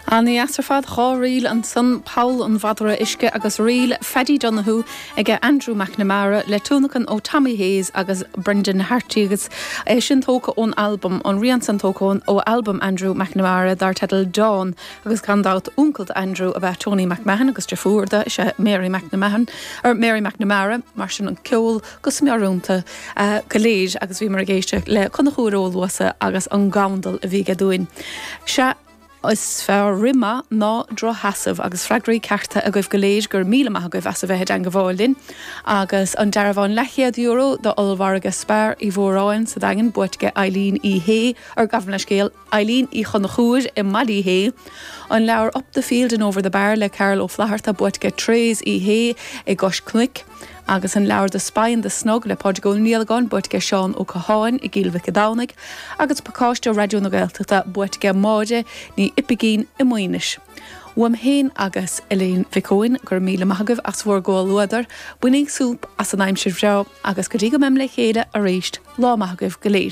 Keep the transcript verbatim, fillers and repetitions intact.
An-dheas ar fad dhá ríl ansan Poll an Mhadra Uisce agus ríl Phaddy Donoghue ag Andrew McNamara le tionlacan ó Tommy Hayes agus Brendan Harty agus é sin tógtha ón album an rian san tógtha ó album Andrew McNamara dar teideal Dawn agus gan dabht uncail Andrew ab ea Tony McMahon agus deirfiúr dó is ea Mary McMahon or Mary McNamara mar sin an ceol go smiorúnta uh, go léir agus bhíomar ag éisteacht le Conchúr Ó Luasa agus an gandal a bhí dúinn. Se is fearr rith maith ná drochsheasamh agus freagraí cearta agaibh go léir gur míle maith agaibh as a bheith ag gabháil linn, agus an dearbhán leathchéad euro do ollmhargadh Spar i bhForáin sa Daingean buaite ag Eileen Uí Shé ar gabh mo leithscéal Eileen Uí Chonchúir i mBaile Uí Shé. An leabhar Up the Field and Over the Bar le Carl Ó Flatharta buaite ag Therese Uí Shé i gCois Cnoic. agus an leabhar The Spy and the Snug le Pádraig Ó Niallagáin buaite ag Seán Ó Catháin i gCill Mhic Domhnaigh, agus pacáiste Raidió na Gaeltachta buaite ag Máire Ní Oipigín i Maínis. Uaim féin agus Elaine Mhic Eoin gur míle maith agaibh as bhur gcomhluadar, bainígí súp as an aimsir bhreá agus go dtí go mbeim le chéile arís lá maith agaibh go léir.